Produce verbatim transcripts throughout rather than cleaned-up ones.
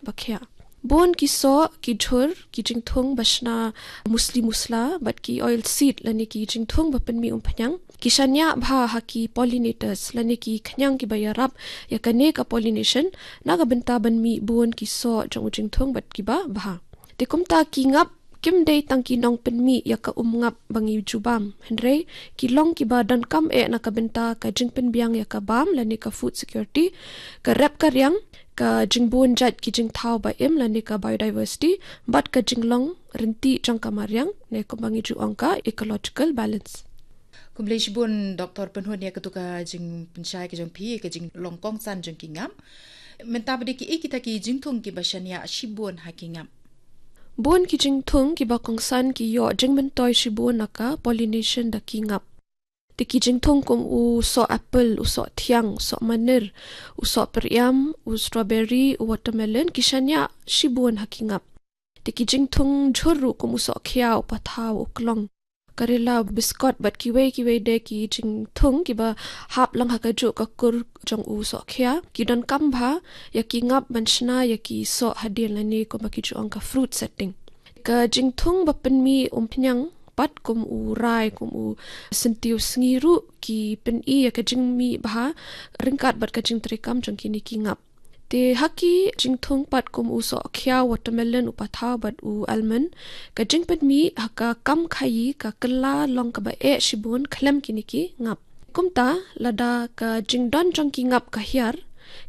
ba khiah. Bun ki soh, ki jhur, ki jingthung ba shna musli musla, bad ki oil seed lane ki jingthung ba pynmih umphniang, ki shaniah bha ha ki pollinators lane ki khñiang kiba ïarap ïa kane ka pollination, na ka bynta ban mih bun ki soh jong u jingthung bad kiba bha. Te kumta ki ngap kim dei tang ki nongpynmih ïa ka um ngap ba ngi ju bam, hynrei ki long kiba donkam eh na ka bynta ka jingpynbiang ïa ka bam lane ka food security, ka rep ka riang, ka jingbun jait ki jingthaw ba im lane ka biodiversity, bad ka jinglong ryntih jong ka mariang, ne kumba ngi ju ong ka ecological balance. Khublei shibun Doctor Pynhun ïa katu ka jingpynshai ka jong phi, ka jinglong kongsan jong ki ngap. Mynta ba dei kiei kita ki jingthung kiba shaniah shibun ha ki ngap? Bun ki jingthung kiba kongsan ki ïoh jingmyntoi shibun na ka pollination da ki ngap. Te ki jingthung kum u soh apple, u soh thiang, u soh manir, u soh pyriam, u strawberry, u watermelon, ki shaniah shibun ha ki ngap. Te ki jingthung jhur ruh kum u soh khiaw, u pathaw, u klong, karela, u biskot, bad kiwei kiwei de ki jingthung kiba hap lang ha kajuh ka kur jong u soh khia, ki donkam bha ïa ki ngap ban shna ïa ki soh hadien lane kumba ki ju ong ka fruit setting. Ka jingthung ba pynmih umphniang pat kum u rai, kum u syntiew sngi ruh ki pyni ïa ka jingmih bha ryngkat bad ka jingtreikam jong kine ki ngap. Te ha ki jingthung pat kum u soh khiaw, watermelon, u pathaw bad u almond, ka jingpynmih ha ka kam khaïi ka kylla long kaba eh shibun khlem kine ki ngap. Kumta lada ka jingdon jong ki ngap ka hiar,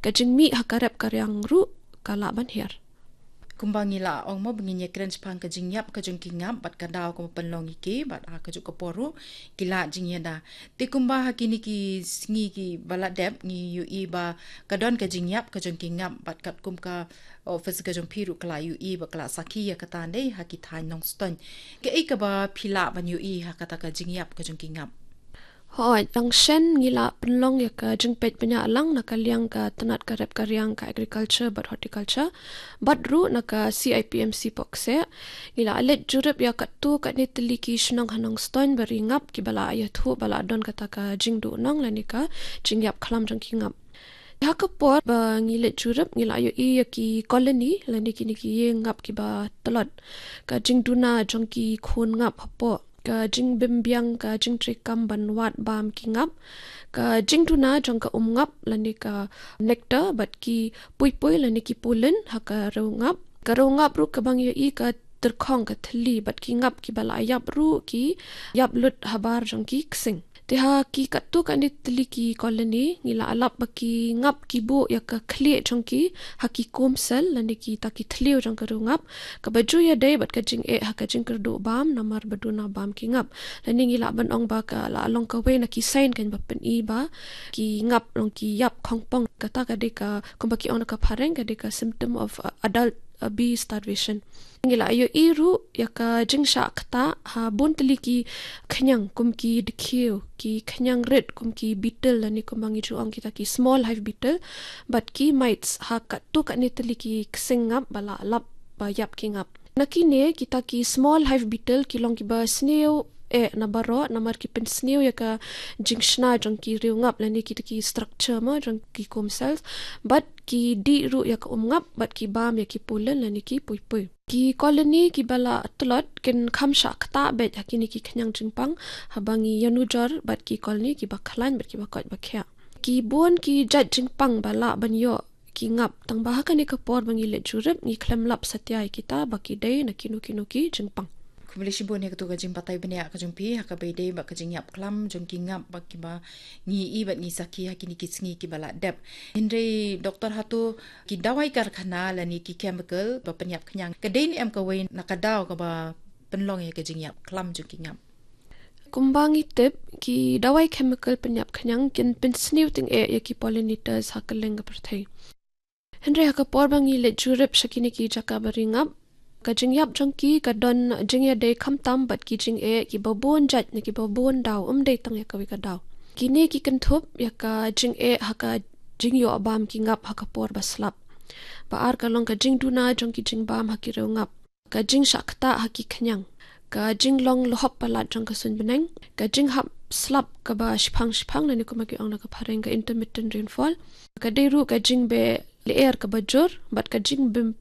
ka jingmih ha ka rep ka riang ruh ka lah ban hiar. Kumba ngi la ong mo ba ngin ïakren shaphang ka jingïap ka jong ki ngap bad ka daw kaba pynlong ïa ki bad ha kajuh ka por ruh ki la jingïada. Te kumba ha kine ki sngi kiba la dep ngi ïohi ba ka don ka jingïap ka jong ki ngap bad katkum ka office ka jong phi ruh ka la ïohi ba ka la sakhi ïa kata ne ha ki thaiñ Nongstoiñ. Kaei kaba phi lah ban ïohi ha kata ka jingïap ka jong ki ngap? Hooid, tang shen ngi la pynlong ïa ka jingpeit bniah lang na ka liang ka tnat ka rep ka riang ka agriculture bad horticulture bad ruh na ka C I P M C Pok Koseh. Ngi la leit jurip ïa katto katne tylli ki shnong ha Nongstoiñ ba ri ngap kiba la ïathuh ba la don kata ka jingduhnong lane ka jingïap khlam jong ki ngap. Ha ka por ba ngi leit jurip ngi la ïohi ïa ki colony lane kine ki ïing ngap kiba tlot, ka jingduna jong ki khun ngap hapoh, ka jingbymbiang ka jingtreikam ban wad bam ki ngap, ka jingduna jong ka um ngap lane ka nectar bad ki puipui lane ki pollen ha ka rew ngap. Ka rew ngap ruh kaba ngi ïohi ka tyrkhong ka thylli bad ki ngap kiba la ïap ruh ki ïap lut habar jong ki ksing. Te ha ki katto katne tylli ki colony ngi la lap ba ki ngap ki buh ïa ka khlieh jong ki ha ki comb cell lane kita ki thliew jong ka rew ngap, kaba ju ïadei bad ka jingeh ha ka jingkyrduh bam namar ba duna bam ki ngap. Lane ngi lah ban ong ba ka la long kawei na ki sign kan ba pyni ba ki ngap long ki ïap khongpong, kata ka dei ka, kumba ki ong na ka phareng, ka dei ka symptom of, uh, adult, uh, bee starvation. Ngi la ïohi ruh ïa ka jingshah ktah ha bun tylli ki khñiang kum ki dkhiew, ki khñiang rit kum ki beetle lane kumba ngi ju ong kita ki small hive beetle bad ki mites ha katto katne tylli ki ksing ngap ba la lap ba ïap ki ngap. Na kine kita ki small hive beetle ki long kiba sniew eh na baroh namar ki pynsniew ïa ka jingshna jong ki rew ngap lane kita ki structure mo jong ki comb cells bad ki dih ruh ïa ka um ngap bad ki bam ïa ki pollen lane ki puipui. Ki colony kiba la tlot kin kham shah ktah beit ha kine ki khñiang jingpang haba ngi ïanujor bad ki colony kiba khlaiñ bad kiba koit ba khiah. Ki bun ki jait jingpang ba lah ban ïoh ki ngap, tang ba ha kane ka por ba ngi leit jurip ngi khlem lap satia ïa kita ba ki dei na kino kino ki jingpang. Khublei shibun ïa katu ka jingbatai bniah ka jong phi ha kaba ïadei bad ka jingïap khlam jong ki ngap ba kiba ngi ïohi bad ngi sakhi ha kine ki sngi kiba la dep. Hynrei Doctor, hato ki dawai karkhana lane ki chemical ba pynïap khñiang ka dei ne em kawei na ka daw kaba pynlong ïa ka jingïap khlam jong ki ngap? Kumba ngi tip, ki dawai chemical pynïap khñiang kin pynsniew tyngeh ïa ki pollinators ha kylleng ka pyrthei. Hynrei ha ka por ba ngi leit jurip sha kine ki jaka ba ri ngap, ka jingïap jong ki ka don jingïadei khamtam bad ki jingeh kiba bun jait ne kiba bun daw, ym dei tang ïa kawei ka daw. Kine ki kynthup ïa ka jingeh ha ka jingïoh bam ki ngap ha ka por ba slap. Ba ar ka long ka jingduna jong ki jingbam ha ki rew ngap, ka jingshah ktah ha ki khñiang, ka jinglong luhop palat jong ka suiñ bneng, ka jinghap slap kaba shiphang shiphang lane kumba ki ong na ka phareng ka intermittent rainfall, ka dei ruh ka jingbeh lyer kaba jur bad ka jingbym